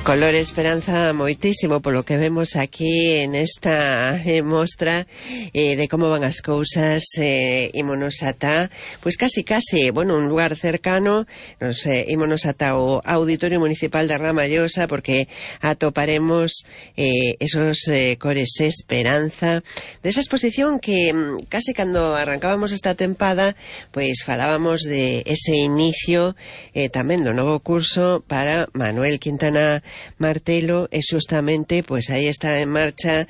Color esperanza moitísimo polo que vemos aquí en esta mostra de como van as cousas. Ímonos ata, pois casi, bueno, un lugar cercano. Nos ímonos ata o Auditorio Municipal de Ramallosa, porque atoparemos esos cores esperanza desa exposición que casi cando arrancábamos esta tempada, pois falábamos de ese inicio tamén do novo curso para Manuel Quintana Martelo, e xustamente pois aí está en marcha,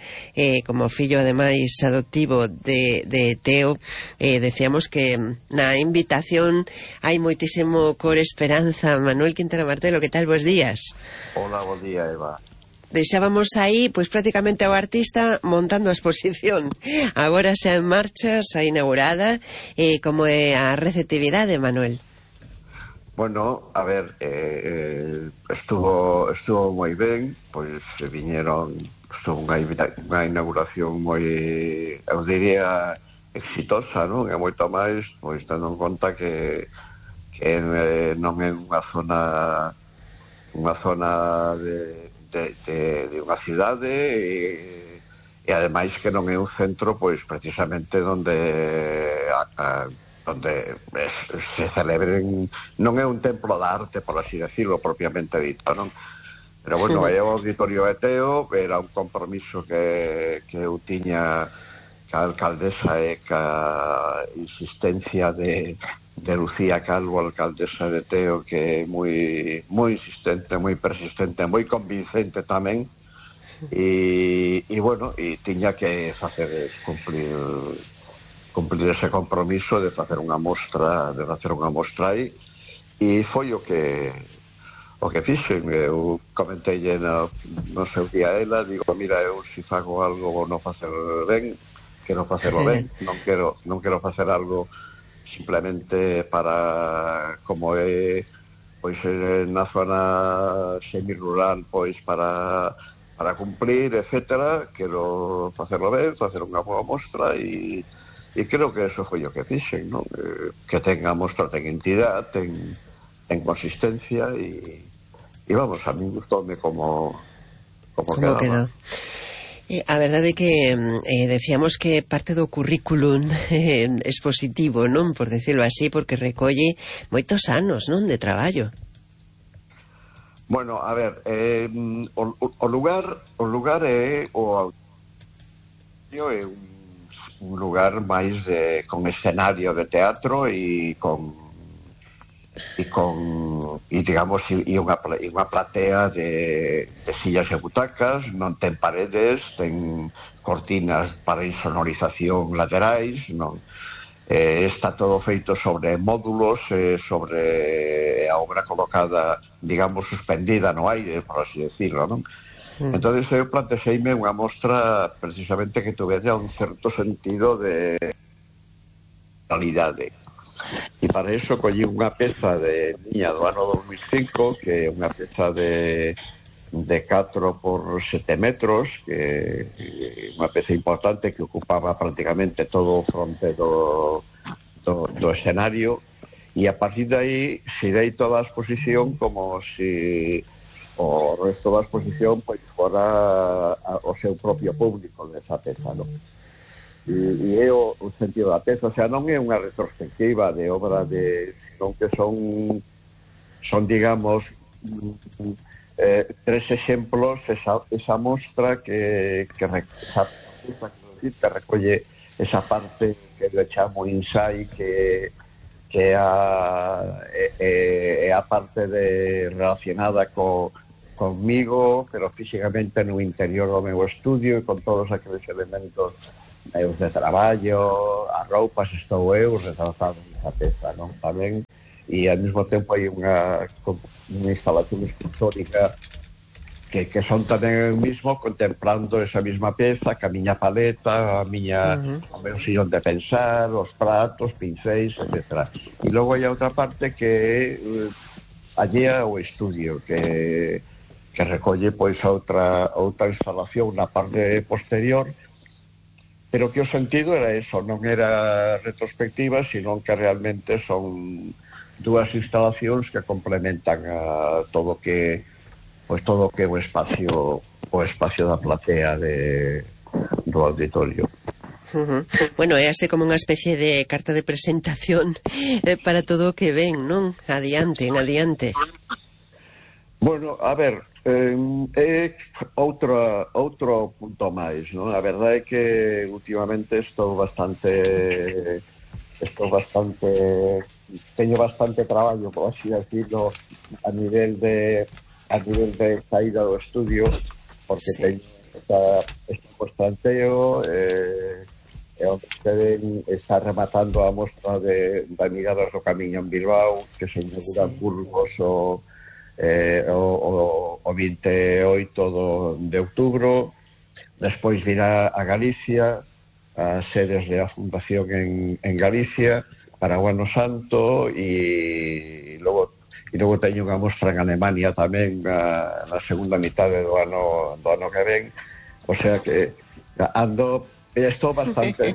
como fillo ademais adoptivo de Teo. Decíamos que na invitación hai moitísimo cor esperanza. Manuel Quintana Martelo, que tal? Bos días. Hola, bom día, Eva. Deixábamos aí, pois prácticamente ao artista montando a exposición. Agora xa en marcha, xa inaugurada. Como é a receptividade, Manuel? Bueno, a ver, estuvo moi ben, pois estuvo unha inauguración moi, eu diría, exitosa, non? E moito máis, pois tendo en conta que non é unha zona de unha cidade e ademais que non é un centro, pois precisamente onde se celebren, non é un templo da arte, por así decirlo, propiamente dito, non? Pero bueno, é o Auditorio de Teo, era un compromiso que eu tiña ca alcaldesa e ca insistencia de Lucía Calvo, alcaldesa de Teo, que é moi insistente, moi persistente, moi convincente tamén, e bueno, e tiña que facer cumplir ese compromiso de facer unha mostra aí, e foi o que fixen. Eu comentei no seu día a ela, digo, mira, eu se fago algo non facelo ben, quero facelo ben, non quero facer algo simplemente para, como é pois na zona semirural, pois para cumplir, etcétera. Quero facelo ben, facer unha boa mostra, e creo que eso foi o que fixen, non? Que ten a mostra, ten entidade, ten consistencia, e vamos, a mí gustoume como quedaba. A verdade é que decíamos que parte do currículum expositivo, non? Por decirlo así, porque recolle moitos anos, non? De traballo. Bueno, a ver, o lugar é un lugar máis con escenario de teatro e digamos unha platea de sillas e butacas. Non ten paredes, ten cortinas para insonorización laterais, non? Está todo feito sobre módulos, sobre a obra colocada, digamos, suspendida no aire, por así decirlo, non? Entonces eu plantexeime unha mostra precisamente que tuvera un certo sentido de realidade. E para iso collí unha peza de miña do ano 2005, que é unha peza de 4 por 7 metros, que é unha peza importante que ocupaba prácticamente todo o fronte do escenario, e a partir de aí xirei toda a exposición como se o resto da exposición pois fora o seu propio público desa peza, non? E é o sentido da peza, o sea, non é unha retrospectiva de obra senón que son digamos tres exemplos. Esa mostra que recolle esa parte que le chamo inside, que é a parte relacionada conmigo, pero físicamente no interior do meu estudio, e con todos aqueles elementos meus de traballo, as roupas, estou eu retratado nesa peza, non? Tamén, e ao mesmo tempo hai unha instalación escultórica que son tamén eu mismo contemplando esa mesma peza, ca miña paleta, o meu sillón de pensar, os pratos, pincéis, etc. E logo hai outra parte que allea o estudio, que recolle pois outra instalación na parte posterior, pero que o sentido era eso, non era retrospectiva, sino que realmente son dúas instalacións que complementan a todo o que pois todo o que é o espacio da platea do auditorio. Bueno, é así como unha especie de carta de presentación para todo o que ven, non? Adiante, en adiante. Bueno, a ver, é outro punto máis, non? A verdade é que últimamente teño bastante traballo, por así decirlo, a nivel de saída do estudio, porque teño este constanteo, onde está rematando a mostra da Miradas do Camiño en Bilbao, que se inaugura Burgos o 28 de outubro. Despois virá a Galicia, as sedes da Fundación en Galicia para o Ano Santo, e logo teño unha mostra en Alemania tamén na segunda mitade do ano que ven. O sea que estou bastante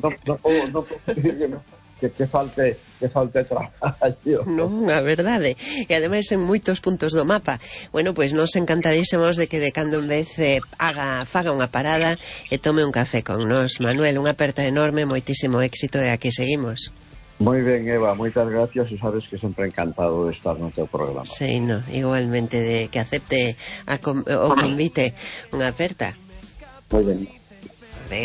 que falte traballo. Non, a verdade. E ademais en moitos puntos do mapa. Bueno, pois nos encantadísimos de que de cando en vez faga unha parada e tome un café con nos. Manuel, unha aperta enorme, moitísimo éxito e aquí seguimos. Moi ben, Eva, moitas gracias, e sabes que sempre encantado de estar no teu programa. Sí, no, igualmente de que acepte o convite. Unha aperta. Moi ben.